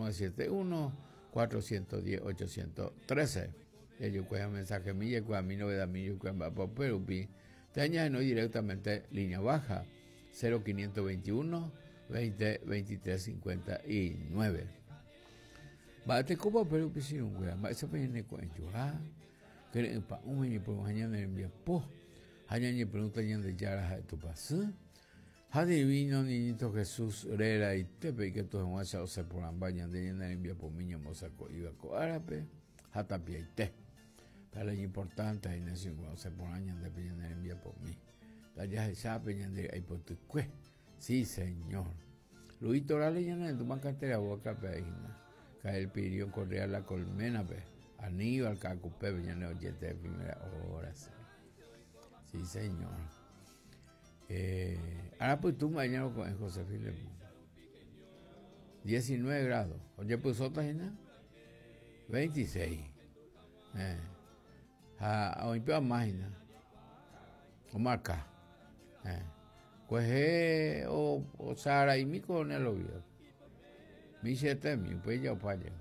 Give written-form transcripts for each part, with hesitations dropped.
971 410 813. Jajukuéva mensajemi jaikuaami novedami jaikuaa mba'épa upe rupi. Térã ñahenói directamente línea baja 0521 20 23 59. Mba'etekópa upe rupi che irũnguéra, mba'éichapa ñaneko'ẽjoa, kyre'ỹ pa'ũme ñepyrũha ñane rembiapo ha ñañepyrũta Ñandejára ha'e Tupãsy ha Divino Niñito Jesús réraitépe ikatu hag̃uáicha osẽ porãmba ñande ñane rembiapomi ñambosako'íva ko árape ha tapiaite. Péva la iñimportánte hína che irũnguéra osẽ porã ñandépe ñane rembiapomi. Ndajahechápe ñande ry'aipotykue. Sí, señor. Luis Torales ñanerendúma cantera boca pe hína. Cael Pirión Correa La Colmena pe. Aníbal Caacupé ñane oyente de primera hora. Sí, sí señor. Eh, ahora pues tú mañana con José Filemón. 19 grados. Oye, pues otra hína. 26. Eh. Ha oĩ pe amáhina omarka. Eh. Kuehe osaraimi coronel Oviedo. Michietemi, upéi ja opa jey.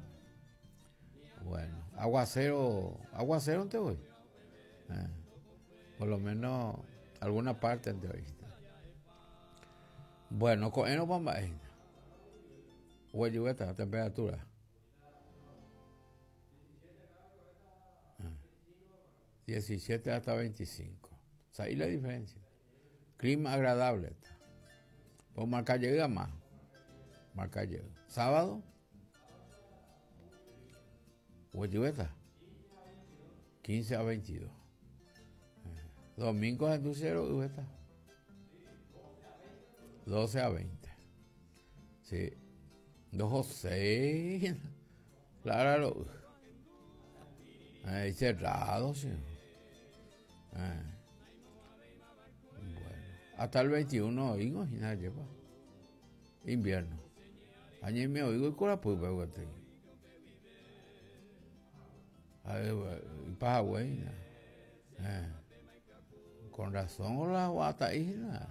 Bueno, aguacero, aguacero-nte voi. Eh. Por lo menos alguna parte-nte oĩta. Bueno, ko'ẽrõpa mba'e hína. Oguejyvéta temperatura. 17 hasta 25. Sa'i la diferencia. Clima agradable. Pues marca llega más. Marca llega. Sábado. Guayubeta. 15 a 22. Domingo en cero, 12 a 20. Sí. 2 o 6. Claro. Ahí cerrado, sí. Eh. Bueno, hasta el 21 oigo, y nada lleva. Invierno. Añe me oigo y corapýpe gueteri. Ipahague hína. Eh. Con razón la guata'i hína.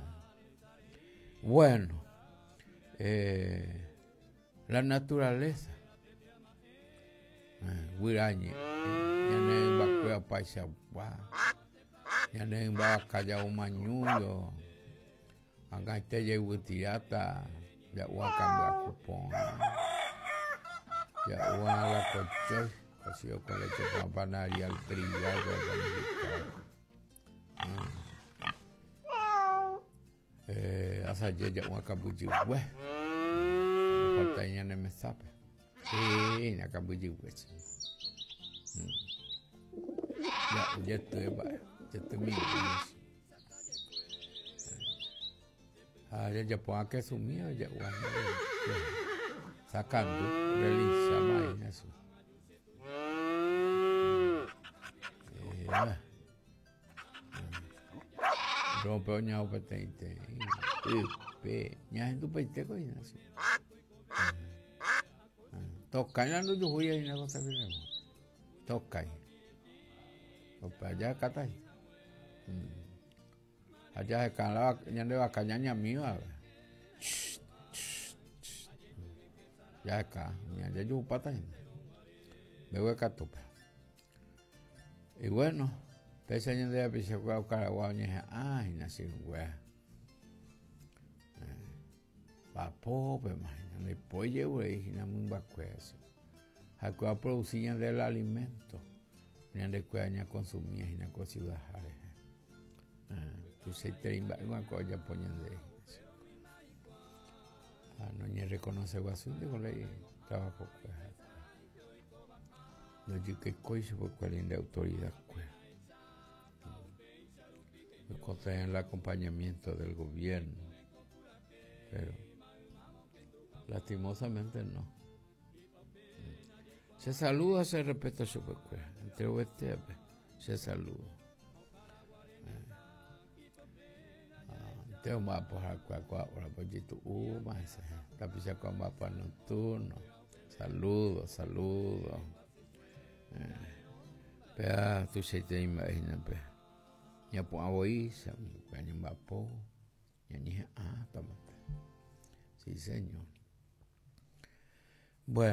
Bueno, eh, la naturaleza. Eh, guyra ñe'ẽ, ñane rymbakuéra opaichagua, ñane rymba vaka ja'umañújo, ag̃aite jayvytiráta ja'u akãmbyaku porã, ja'u la kochói, cocido con leche con panadería al trigal, Eh, asaje ja'u akambyjygue. Falta ñane mesápe. Sí, akambyjygue. Mm. Ja'u jety mba'e, jety mimbi. Ha jajapo akesumi ja'u Sakandu, relincha maína su. Eh, Rompe oñao peteĩ teĩ ype ñahendupaite ko hína che. Tokái la ndojuhúi hína ko sapiremo. Tokái. Opa jahekáta hína. Ha jaheka la ñande vaka ñañamíva. Jaheka, jajuhupáta hína. Mbeguekatúpe. Y bueno, péicha ñande rapichakuéra okaragua oñeha'ã hína che irũnguéra. Vapópema hína, ndaipói je'urei hína mymbakuéra che. Ha'ekuéra oproduci ñande el alimento, ñandekuéra ñakonsumía hína ko ciudad-ha rehe. Tuichaiterei mba'éma ko ojapo ñande rehe. Ha noñereconoce guasúinte ko ley trabajo-kuéra. Ndojykekói chupekuéra nde autoridad-kuéra. Oikotevẽ el acompañamiento del gobierno, pero lastimosamente no. Che saludo ha che respeto chupekuéra, enterovetévape che saludo. Nte omba'apo ha'ekuéra ko órape ojetu'úma hese, tapichakuéra omba'apo nocturno. Saludo, saludo. Péva tuichaiterei mba'e hína pe ñapu'ã voi upéva ñamba'apo ñañeha'ãta mante. Sí, señor. Bueno.